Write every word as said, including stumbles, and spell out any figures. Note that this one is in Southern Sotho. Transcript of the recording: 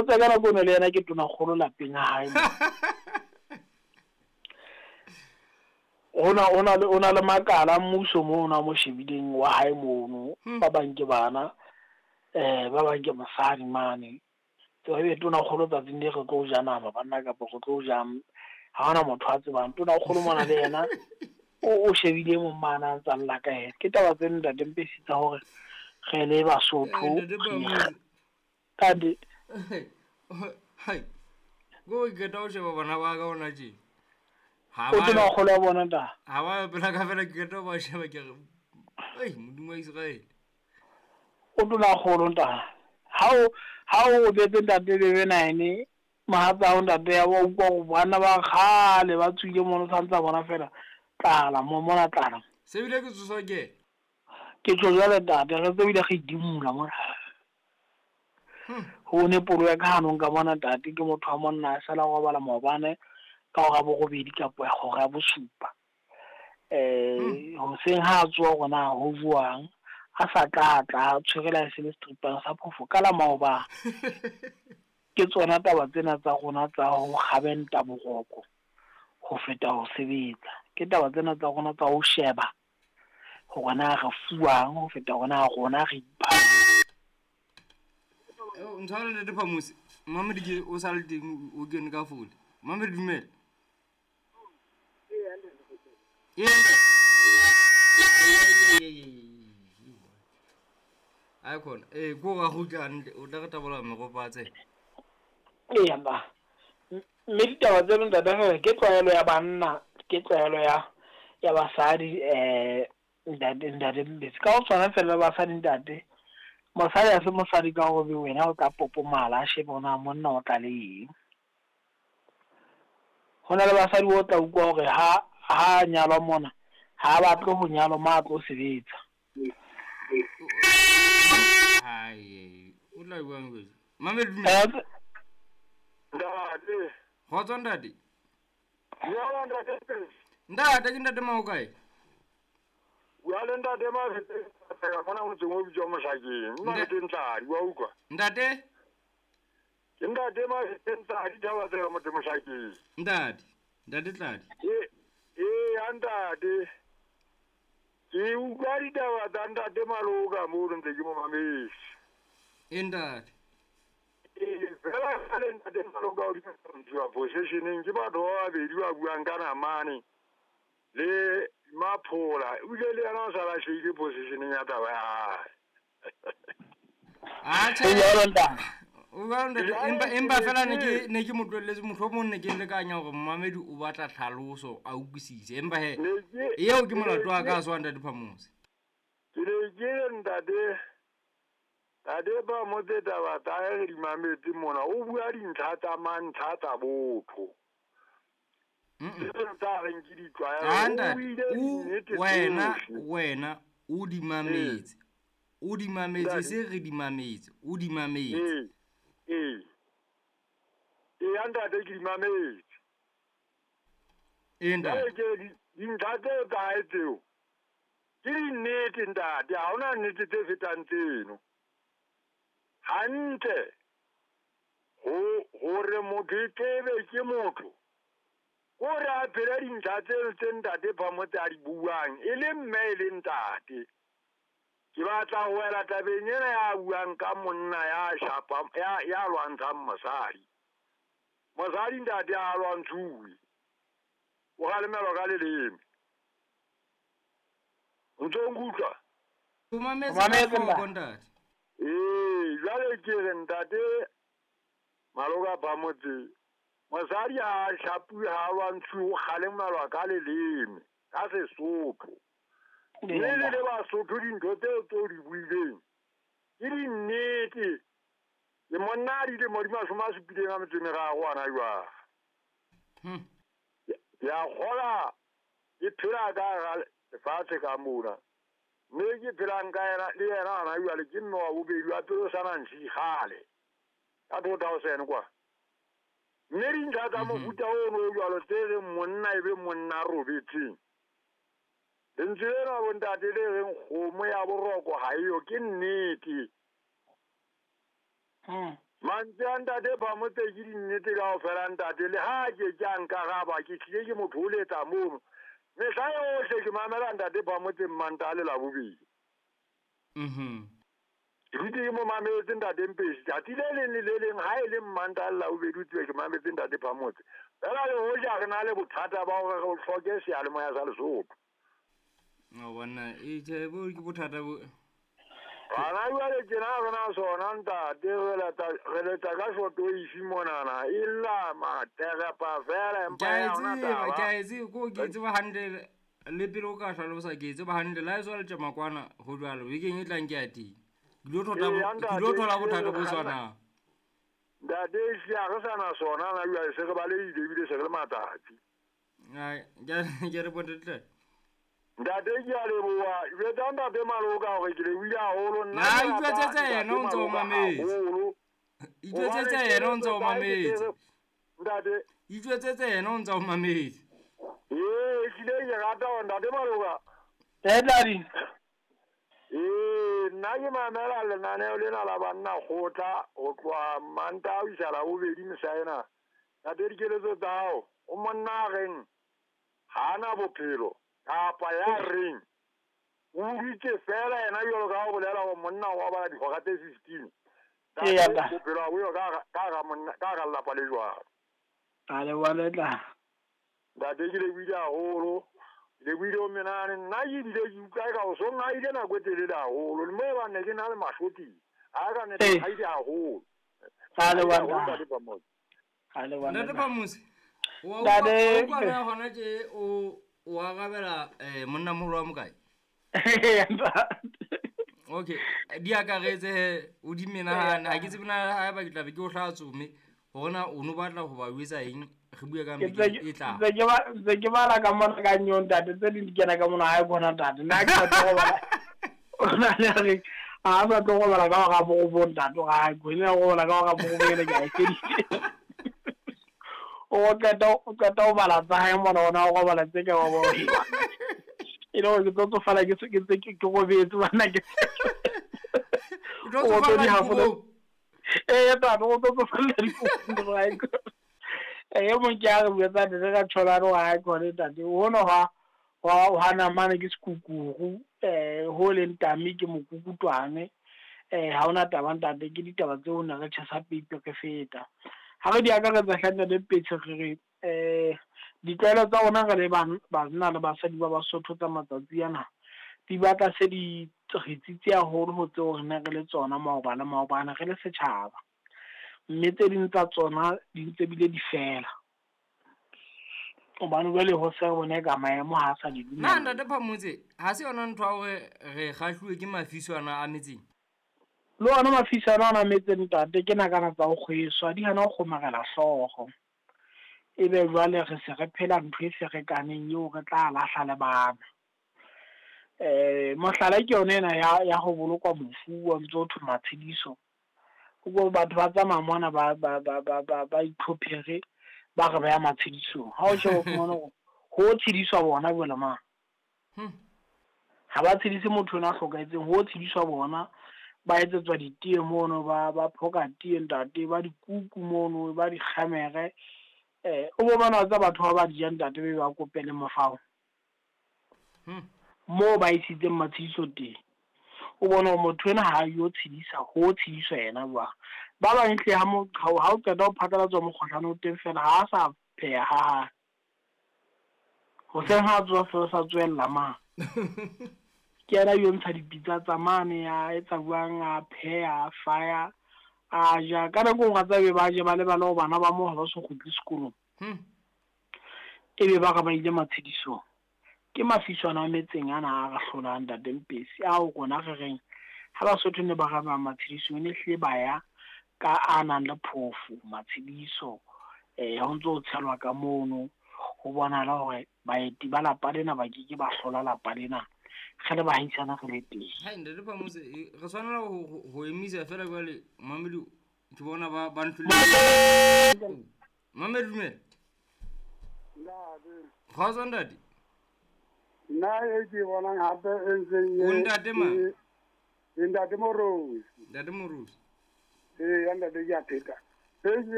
Phamotse ka nako eno le yena ke tonakgolo lapeng ha hae. Ona ona le ona le makala mmuso mono a mo shebileng wa hae mono, ba bang ke bana, eh ba bang ke mosadi mane. Tseba ebe tonakgolo tsatsing le re tlo ja nama banna kapa re tlo ja, ha hona motho a tsebang. Tonakgolo mona le yena o o shebile e mong mane a ntsa lla ka yena. Ke taba tse ntate Mpesi tsa hore re le Basotho Ntate Phamotse. Kante Hai. Go ke qeta ho sheba bana ba ka hona tje. Ha o ba tonakgolo ya bona nta. Ha ba pela ka fela ke qeta ho ba sheba ke re, "Ei, Modimo wa Israel." O tonakgolo nta. Ha o ha o robetse ntate bebe nine mohatsa hao ntate ya wa utlwa hore bana ba kgale ba tswile mono santsa bona fela tlala mo mona tlala. Se bile ke tsoswa ke. Ke tlo jwale ntate re tsebile re idimola mona. Ho ne polo ya ka hanong ka mona ntate ke motho wa monna a sala robala maobane ka hora borobedi kapa hora ya bosupa. Eh hoseng ha a tsoha hore na ho jwang a sa tla tla tshwere la se le stripang sa phofo ka la maobane. Ke tsona taba tsena tsa rona tsa ho kgabenta boroko ho feta ho sebetsa. Ke taba tsena tsa rona tsa ho sheba hore na re fuwang ho feta hore na rona re ipha. Ntshware Ntate Phamotse. Mamedi ke o sa le teng o kene ka fole. Mamedi dumela. Ee. Ai khona. Eh ko ga go hantle o tla re tabola meropa a tsena. Eya ba. Mme ditaba tseno ntate fela ke tlwaelo ya banna, ke tlwaelo ya ya basadi eh ntate ntate Mbetsi. Ka ho tshwana fela le basadi ntate. Mosadi ha se mosadi ka hore wena o tla popomala a shebe hore na monna o tla le eng. Ho na le basadi o tla utlwa hore ha ha nyalwa mona ha batle ho nyalwa mo a tlo sebetsa. Hai, o tla buang jwang? Mamedi dumela. Ntate. Kgotso ntate. Dumela ntate. Ntate ke ntate Maokae. Bua le ntate Mafete ka mona motseng o bitswang Mohlakeng. Nna ke Ntladi wa utlwa. Ntate? Ke ntate Mafete Ntladi taba tsela motse Mohlakeng. Ntate, ntate Tladi. E e ya ntate. Ke utlwa ditaba tsa ntate Maloka mo ntse ke mo mametse. E ntate. E fela le ntate Maloka o di positioning ke batho ba babedi ba buang ka namane le Maphola o ile le yena o sa lahlehile positioning ya taba ya hae. Ah, Ho jwalo ntate. O jwalo ntate, empa empa fela ne ke ne ke mo tlohelletse mohlomong ne ke lekanya hore momamedi o batla tlhaloso a utlwisise. Empa he Ne ke eo ke molato wa ka a se wa ntate Phamotse. Ke ne ke re ntate ntate Phamotse taba tsa hae re di mametse mona o bua dintlha tsa mantlha tsa botho. Mm. Tsa reng ke ditlwaelo, Ah, o ntate, buile o dinnete wena tsohle. wena o di mametse. O di mametse Ntate. se re di mametse, o di mametse. Ee, ee. Ee, ya ntate ke di mametse. Ee, ntate. Jwale ke di dintlha tseo tsa hae tseo ke dinnete ntate, ha hona nnete tse fetang tseno. Hantle ho hore motho e tlebe ke motho kore a phele dintlha tseno tse ntate Phamotse a di buang e le mme e le ntate. Ke batla ho wela tabeng ena ya buang ka monna ya shapa ya ya lwantshang mosadi. Mosadi ntate a lwantshuwe. O kgalemelwa ka leleme. O ntso nkutlwa? O mametse O mametse ka hloko, ntate. ntate. Ee, jwale ke re ntate Maloka Phamotse mosadi ha a shapuwe ha a lwantshuwe o kgalemelwa ka leleme ka Sesotho. Mme le le Basotho dintho tseo tseo di buileng ke dinnete. Ke monna a dilemo di mashome a supileng a metso e meraro hona jwale. Hmm. Ke a kgola ke phela ka hara lefatshe ka mona. Mme ke phelang ka yena le yena hona jwale ke mme wa bobedi wa pele o sa na ntshi kgale. Ka two thousand kwa. Mme dintlha tsa mofuta ono o jwalo tse reng monna e be monna a robetseng. Lentswe lena bontate le reng kgomo ya boroko ha eyo ke nnete. Hmm. Mantswe a ntate Phamotse ke dinnete kaofela ntate, le ha ke ke a nkaraba ke tlile ke mo thoholetsa mono. Mehla yohle ke mamela ntate Phamotse Mmantaha le Labobedi. Mhm. Ke dutse ke mo mametse ntate Mpesi. Tsatsi le leng le le leng ha e le Mmantaha le Labobedi o tsebe ke mametse ntate Phamotse. Fela le hoja re na le bothata ba hore re hloke seyalemoya sa Lesotho. O bona e tjhe bo ke bothata bo. Bana jwale tjena re na sona ntate, re leta re leta ka shoto ifi monana e lla materepa fela empa Ke a e ya hona tseba, taba. ke a e tseba, ko ke e tseba hantle le pele o ka hlalosa ke e tseba hantle la e tswa letjamakwana ho jwalo bekeng e tlang ke ya teng. Ke lo thola Eya, ke lo ntate, thola ehlile bothata re bo kganna. tshwanang. Ntate ehlile ha re sa na sona na jwale se re balehile ebile se re le matsatsi. Ai, ke a ke re bontate. Ntate ke a leboha. Jwetsa ntate Maloka hore ke lebohile haholo. Nna Na ke rata itjwetsetse ntate yena o ntse o Maloka mametse. haholo. Itjwetsetse Hobane yena o ntse o keletso tsa hae ke mametse. tse ntate. Itjwetsetse yena o ntse o mametse. Ee, ehlile ke rata hore ntate Maloka. Eh daddy. Ee, nna ke mamela lenaneo lena la banna kgotla ho tloha Mantaha ho isa Labobedi mehla ena. Ntate dikeletso tsa hao, o monna a reng ha ana bophelo kapa ya reng o utlwitse fela yena jwalo ka ha o bolela hore monna o robala dihora tse fifteen. Eya, Ntate ntate. bophelo ha bo yo ka hara ka hara monna ka hara lelapa le jwalo. A leboha le tla. Ntate ke lebohile haholo. Ke lebohile ho menahane. Nna ke bile ke utlwa eka o so ngaile nako e telele haholo. Le moo ebang ne ke na le mahlo teng. Ha ka ne Ee. ngaile haholo. A leboha Haholo ntate. ntate Phamotse. A leboha Ntate ntate. Phamotse, wa Ntate. utlwa wa utlwa na hona tje o o arabela eh monna moholo wa mokae? Ntate. Okay, di akaretse he o di menahane. Ha ke tsebe na haeba ke tla be ke o hlaha tsome hore na o no batla ho ba jwetsa eng re bue ka Ke beke ntse ke e tlang. ntse ke ba ntse ke bala ka mona ka nyo ntate tse ding di kena ka mona ha e bona ntate. Nna ke sa tlo robala. O na le re ha sa tlo robala ka hora borobong ntate ha ke ne robala ka hora borobong ene ke a e feditse. O qeta o qeta ho bala tsa hae mona ona o robala tse ka wa bo. E le hore ke tlo tsofala ke se ke ntse ke ke robetse bana ke. O tlo O tlo tsofalla di hafola. dikobong. Eh ntate o tlo tsofalla dikobong ha e. Eh mong ke a re buetsa ntate ka tjholane ha e khone ntate. Hono ha wa ha namane ke sekukuru eh ho leng tami ke mokukutwane eh ha ona taba ntate ke ditaba tseo ne re tjhesa peipi re feta. Ha re di akaretsa hle ntate Petshe re re eh ditlwaelo tsa rona re le banna le basadi ba Basotho tsa matsatsi ana di batla se di re tsitsi haholo ho tseo re ne re le tsona maoba le maobane re le setjhaba. Mme tse ding tsa tsona di ntse bile di fela. Hobane jwale ho se re bone ka maemo ha sa di Na dumella. ntate Phamotse, ha se yona ntho ya hore re kgahluwe ke mafiswana a metseng? Le ona mafiswana ana a metseng ntate ke nakana tsa ho kgweswa di hana ho kgomarela hlooho. Ebe jwale re se re phela ntho e ferekaneng eo re tla lahla le bana. Eh mohlala ke yona ena ya ya ho bolokwa mofu wa ntso thwe matshediso. Ko batho ba tsamaya mona ba ba ba ba ba ba itlhophere ba re ba ya matshedisong. Ha o sheba o fumana hore ho tshediswa bona jwale ma. Hmm. Ha ba tshedise motho ena a hlokahetseng, ho tshediswa bona ba etsetswa ditee mono ba ba phoka tee ntate ba dikuku mono ba dikgamere. Eh o bo bona tsa batho ba ba di jang ntate be ba kopele mofao. Hmm. Moo ba isitseng matshediso teng. O bona hore motho ena ha yo tshedisa, ho tshediswa yena jwang. Ba bang hle ha mo ha o qeta ho phatlalatswa mokgohlane o teng fela ha sa pheha ha hae. Hoseng ha tsoha fela sa tswella ma. Ke yena yo ntsha dipitsa tsa mane a etsa jwang a pheha a faya a ja. Ka nako e nngwe wa tseba be ba je ba lebale hore bana ba moo ha ba so kgutle sekolong. Hmm. Ebe ba re ba ile matshedisong. Ke mafiswana a metseng ana a re hlolang ntate Mpesi ao rona re reng ha Basotho ne ba re ba matshedisong ne hlile ba ya ka a nang le phofo matshediso eh ho ntso tshelwa ka mono ho bonahala hore baeti ba lapa lena ba ke ke ba hlola lapa lena re le bahaisana re le teng. Hai ntate Phamotse, re tshwanela ho ho emisa fela jwale mamedi ke bona ba ba ntlhole. Mamedi dumela. Ntate. Kgotso ntate. Nna e ke bonang hape e ntseng e O ntate mang? E ntate Morosi. Ntate Morosi. Ee, ya ntate ke a pheta. E ke